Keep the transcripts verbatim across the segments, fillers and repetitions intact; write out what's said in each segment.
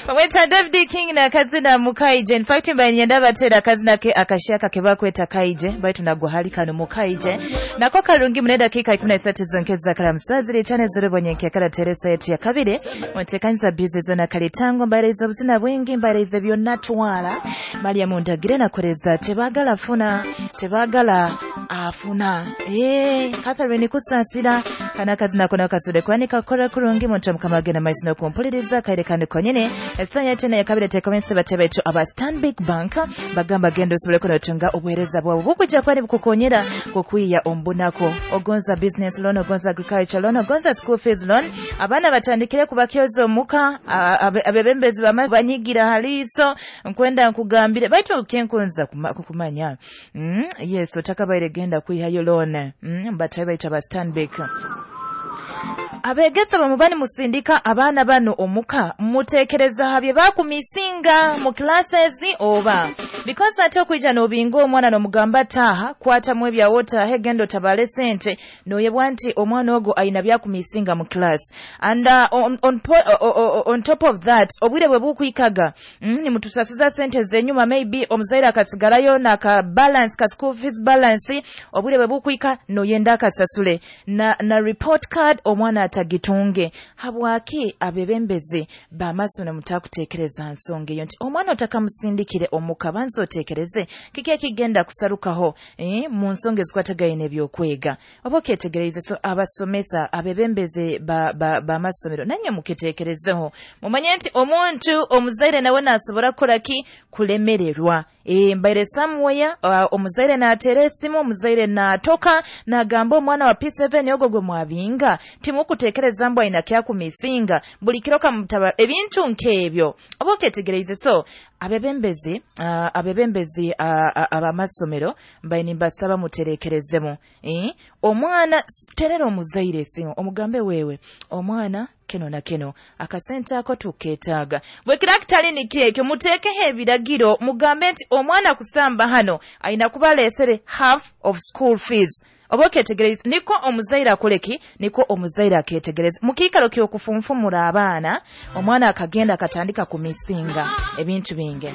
Bamweta David King na kazina Mukaije. In fact mbanyenda batera kazina ke akashaka ke bakweta Kaije baitu nagwa hali kano Mukaije. Nako karungi mune dakika ikumi na isatu zonkeza karamusazi litane zero bonyenke kara teresa yetu ya kabiri. Mtekanza bize zona kalitango mbareza busina bwingi mbareza byonna twala. Maria mundagire na kureza tebagala funa tebagala afuna. Eh Catherine kusasira kana kazina kona kasude kwani kakora kurungi muntu mkamagena maiso no kumpuliriza kaire kandi konyene esanya tena ya kabiri tekomense batebecho aba Stanbic Bank bagamba gendo sobole kono obuhereza bwabo bukujja kwani bukukonyera kukwiya ombunako ogonza business loan, ogonza agriculture loan, ogonza school fees loan. Abana batandikire kubakyozo muka abebembezi banyigira haliso nkwenda nkugambire baitu kenkunza kukumanya mm, yes otakabaire genda kwihayo loan mm, batabe aba Stanbic abegesa bamubani musindika abaana bano omuka mutekereza habye bakumisinga mu classes oba because ate okwijja n'obinga omwana n'omugamba taha kwatamu ebyawota hegendo tabale sente noyebwa nti omwana ogwo ayina byakumisinga mu class and uh, on, on, on, on top of that obwire bwe bukwikaga mm, nimutusasuza sente zenyuma maybe omuzaire akasigalayo naka balance ka school fees balance obwire bwe bukwika noyenda akasasule na, na report card omwana atagitunge. Habwaki abebembezi bamasono mutakutekereza nsonga eyo nti omwana otakamusindikire omuka banza otekereze kiki ekigenda kusarukaho eh, mu nsonga ezikwatagaine ebyokwega oba oketegereze. So abasomesa abebembezi bamasomero ba, ba nanye muketekerezeho mumanye nti omuntu omuzaire nawe nasobora kukola ki kulemererwa. E, mbaire somewhere uh, omuzaire naatera esimu omuzaire naatoka nagamba omwana wa P seven ogwo gwe mwabinga timukutekereza mbwa ina kyakumisinga buli kiro kamutaba ebintu nk'ebyo oba oketegereze. So abebembezi uh, abebembezi uh, abamasomero mbaine mbasaba muterekerezemu eh? Omwana terera omuzaire esimu omugambe wewe omwana keno na keno akasente ako tuketaaga bwe kirakitali niki ekyo muteekeho ebiragiro mugambe nti omwana kusamba hano ayina kuba aleesere half of school fees oba oketegereza niko omuzaire akoleki niko omuzaire aketegereza mukiikalo ky'okufunfumura abaana omwana akagenda akatandika kumisinga ebintu bingi.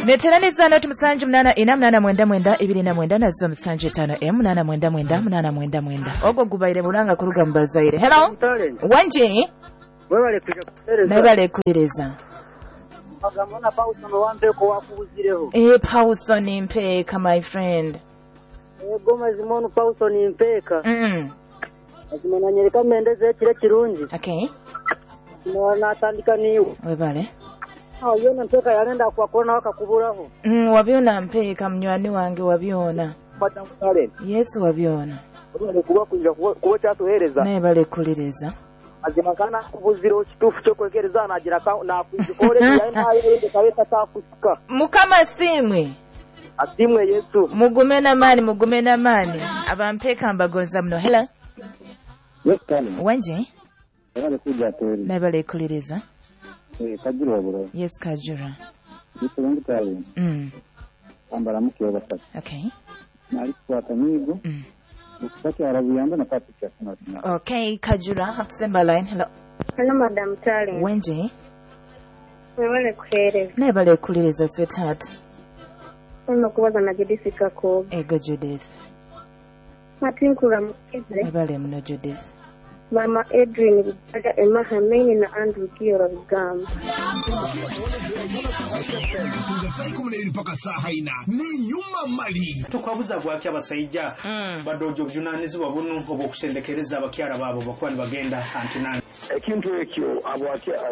Neteraniza noti musanju munana ina munana mwenda mwenda ibiri na mwenda nazo musanju etano emu munana mwenda mwenda munana mwenda mwenda ogwo gubaire bulanga kuruga mu bazaire. Hello wanje webale kuja kutereza webale kutereza agamona Pauson wambeko wakubuzireho eh Pauson mpeka my friend Goma zimonu Pauson mpeka mm azimana nyereka mendeze ekire kirungi okay na natandika niwe webale awo yona mpeka yalenda kwa kona wakakuburaho mm wabyona mpeka mnywani wange wabyona Yesu wabyona kuba kuja kuba cyatuhereza naye bale kuliriza azima kana kubuziro kitufu cyo kwekereza nagira na kuzikore yaye kabeta takusika Mukama simwe asimwe Yesu mugume na mani mugume na mani abampeka mbagonza mno. Hello wanje wale kuja teri naye bale kuliriza eh Kajura bro yes Kajura nitwe mm ambara mukiyo batatu okay nali kwata migo mm ukati arabuyamba na Patrick asema okay Kajura hatsemba line. Hello hello madam Tale wanje wale kuhereza naye bale kuliriza sweetheart ono kubaza na Judith Kako ego Judith matinkura mukize webale mno Judith Mama Edwin Bugaga Emma Hameni na Andrew Kiora Bugamba mpaka saa haina ni nyuma mali tukwabuza bwaki abasajja mm. badojo bujunanizibwa bunu obwokusendekereza abakyala baabo bakuba nibagenda antinani ekintu ekyo abo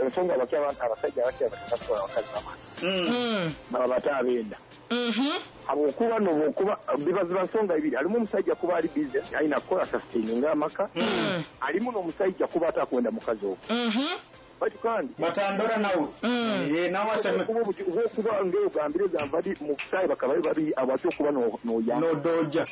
ensonga abakyala abasajja abakyala batatu abakazi mm. baba batabenda mhm abokuba nobokuba bibaziba nsonga ibiri alimu omusajja kuba ali busy alina kukola sustaining amaka mm. alimu n'omusajja kuba atakwenda mukazi ogwo mhm bati kandi batandora nawe mm. eh nawe aseme kuba ngeo gambire gambadi mu kusai bakaba babi abatyo kuba no no ya no doja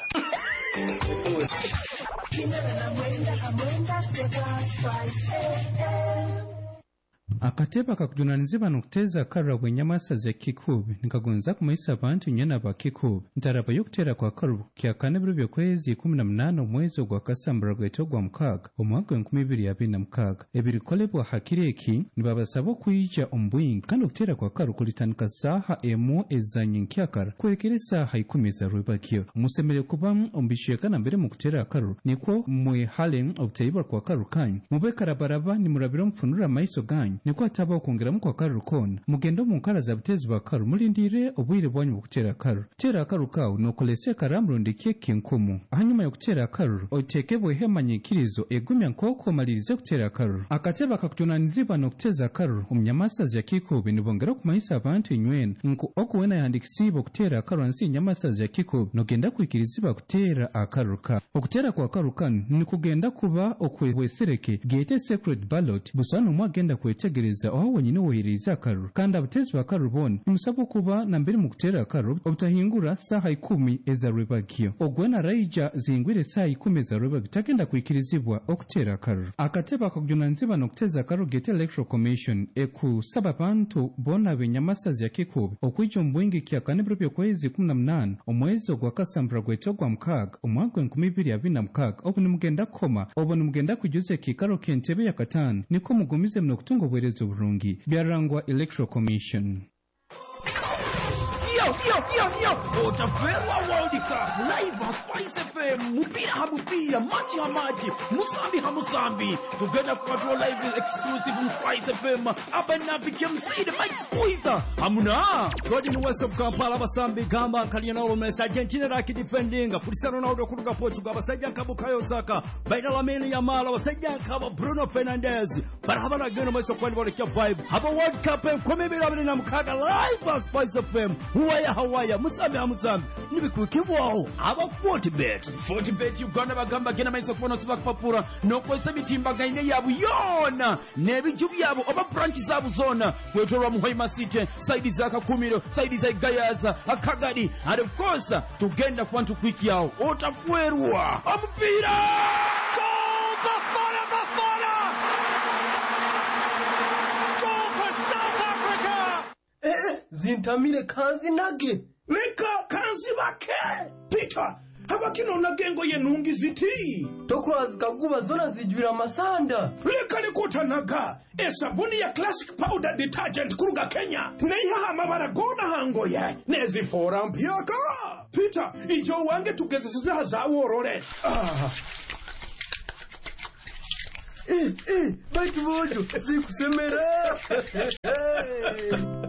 Akatebe akakujunanizibwa n'okuteeza akaruru bw'enyamasa za Kikuubi nikagonza kumanyisa abantu nyena ba Kikuubi ntaraba y'okuteera kwa karuru kyakana ebiro by'okwezi ikumi na munaana omwezi ogwa Kasambara gwete ogwa mukaaga omwaka gw'enkumi ibiri abiri na mukaaga. Ebirikolebwa ha kiro eki nibabasaba okwija omu bwingi kandi okuteera kwa karuru kulitandika saaha emu eza nyenkyakara kuhikira esaaha ikumi eza rwebagyo. Musemere kuba omu bicweka nambere mukuteera akaruru nikwo mwehale obutaibwa kwa karuru kanyu mube karabaraba nimurabira omufunura amaiso ganyu nikwo hataba okwongeramu kwa karuru koona. Mugende omu nkara za butezi bwa karuru mulindire obwire bwanyu bw'okuteera akaruru. Teera akaruru kawe nokolesa ekaramu rundi keki nkumu. Hanyuma y'okuteera akaruru oteekebweho emanyikirizo egumya nk'oku omalirize kuteera akaruru. Akatebe akakujunanizibwa n'okuteeza akaruru omu nyamasazi ya Kikuubi nibongera okumanyisa abantu inywena nku oku wena yahandikisiibwe okuteera akaruru hansi y'enyamasazi ya Kikuubi nogenda kwikirizibwa kuteera akaruru kawe. Okuteera kwa karuru kanu nikugenda kuba okwebwesereke geete secret ballot busa n'omwe agenda kwetegereza aho wenyine wohererize akaruru. Kandi abatezi ba karuru boona nimusabwa okuba nambere mukuteera akaruru obutahingura saaha ikumi eza rwebagyo. Ogwena araija zihingwire esaaha ikumi eza rwebagyo tagenda kwikirizibwa okuteera akaruru. Akatebe akakujunanizibwa n'okuteeza akaruru geete Electoral Commission ekusaba abantu boona b'enyamasazi ya Kikuubi okwija omu bwingi kyakana ebiro by'okwezi ikumi na munaana omwezi ogwa Kasambara gwete ogwa mukaaga omwaka gw'enkumi ibiri abiri na mukaaga obu nimugenda kukoma obu nimugenda kwijuza ekiikaro ky'entebe ya kataano nikwo mugumize muno okutunga obuheereza oburungi. Byarangwa Electoral Commission. Yo, yo, yo, yo! Otaferwa World Cup live ha Spice F M, mupira ha mupira, machi ha machi, musambi ha musambi. Tugenda kupatwa live exclusive mu Spice F M. Abanabi K M C the Mike Squeezer. Hamuna. Gordon West of Kampala basambi gamba Cristiano Messi Argentina raki defending Cristiano Ronaldo kuruga Portugal basajja nka Bukayo Saka baina Lamine Yamal basajja nka Bruno Fernandes barabana geno maiso kwani bolekya vibe. Haba World Cup enkumi ibiri abiri na mukaaga live ha Spice F M. Huwaya hawaya musambi hamusambi nibikukibwaho aba Fortibet. Fortibet Uganda bagamba gena maiso kubona siba kupapura nokwesa mitimbagaine yabu yona n'ebiju byabo oba branch zabu zona kwetolwa mu Hoima City side za Kakumiro side za Gayaza Akagadi and of course tugenda kwantu quick yao otafuerwa omupira. Goal Bafana Bafana. Goal for South Africa. Eh, zintamire kanzi nage leka kanzi bake Peter habakino gengo ye nungi ziti tokwazi kaguba zona zijwira amasanda leka nikutanaga esabuni ya classic powder detergent kuruga Kenya neihaha amabara gona hangoye nezifora mpyaka Peter ijo wange tugezesiza zaworore ah. Eh, eh, baitu bojo zikusemera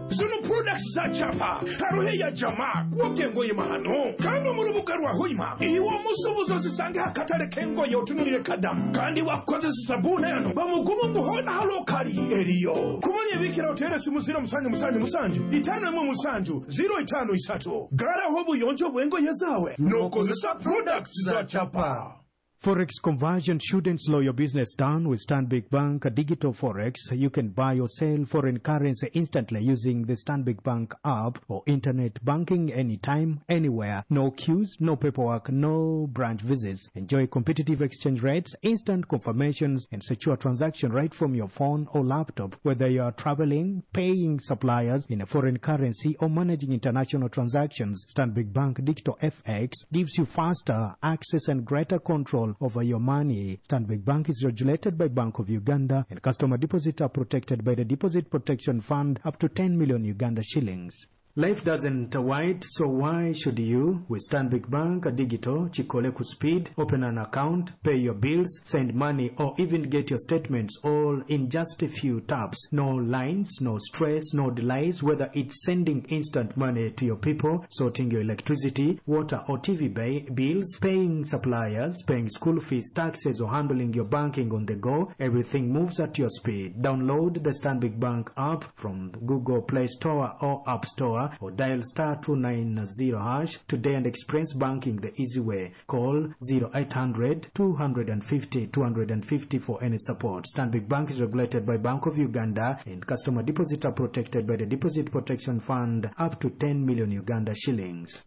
zino products za chapa haruhe ya jamaa kuwoke ngoye mahano kandi mu rubuga rwa Hoima iwo musubuzo zisange hakatale kengoye otunulire kadamu kandi wakozesa sabuni yano bamugumu nguhona halokali eriyo kumanya bikira utere simu zero musanju musanju musanju itano emu musanju zero itano isatu garaho buyonjo bwengoye zawe nokozesa products za chapa. Forex conversion shouldn't slow your business down. With Stanbic Bank Digital Forex, you can buy or sell foreign currency instantly using the Stanbic Bank app or internet banking anytime, anywhere. No queues, no paperwork, no branch visits. Enjoy competitive exchange rates, instant confirmations, and secure transaction right from your phone or laptop. Whether you are traveling, paying suppliers in a foreign currency, or managing international transactions, Stanbic Bank Digital F X gives you faster access and greater control over your money. Stanbic Bank is regulated by Bank of Uganda, and customer deposits are protected by the Deposit Protection Fund up to ten million Uganda shillings. Life doesn't wait, so why should you? With Stanbic Bank Digital, Chikole Speed, open an account, pay your bills, send money, or even get your statements all in just a few taps. No lines, no stress, no delays, whether it's sending instant money to your people, sorting your electricity, water or T V bills, paying suppliers, paying school fees, taxes, or handling your banking on the go, everything moves at your speed. Download the Stanbic Bank app from Google Play Store or App Store, or dial star two nine zero hash today and experience banking the easy way. Call zero eight hundred two hundred fifty two hundred fifty for any support. Stanbic Bank is regulated by Bank of Uganda, and customer deposits are protected by the Deposit Protection Fund up to ten million Uganda shillings.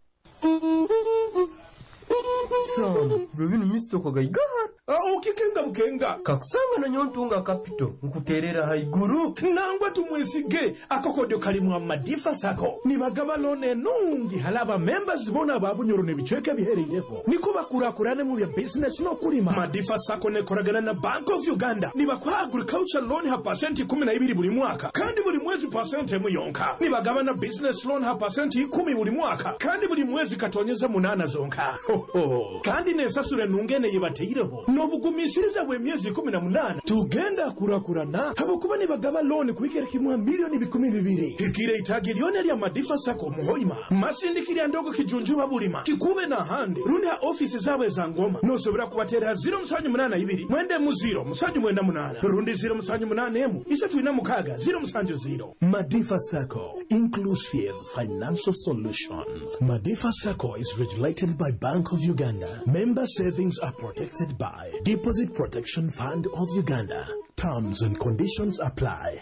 Sam, Robin Mister Kogaigar. Okikenga bukenga. Kakusanga nanyowe ntunga capital, nkuterera haiguru. Nangwa tumwesige akokodyo kalimu amadifa SACCO nibagaba loan enungi halaba members bona ababunyoro n'ebicweka ebihereireho niko bakurakurane mu bya business n'okulima. Madifa SACCO nekoragana na Bank of Uganda, nibakuha agriculture loan ha pasenti ikumi na ibiri buli mwaka kandi buli mwezi pasenti emu yonka. Nibagaba na business loan ha pasenti ikumi buli mwaka kandi buli mwezi katonyeza munana zonka. Ho, ho. Kandi nensasura enungene yebateireho n'obugumisiriza bw'emyezi ikumi na munana tugenda kurakurana habwokuba nibagaba loan kuhikira kimwa milioni bikumi bibiri. Hikire itagi lyona lya Madifa SACCO muhoima masindikirya ndogo kijunjuba bulima kikube na hande rundi ha ofisi zaabwe za ngoma nosobora kubatera ziro musanju munana ibiri mwenda mu ziro musanju mwenda munana rundi ziro musanju munana emu isatu ina mukaga ziro musanju ziro. Madifa SACCO, inclusive financial solutions. Madifa SACCO is regulated by Bank of Uganda. Member savings are protected by Deposit Protection Fund of Uganda. Terms and conditions apply.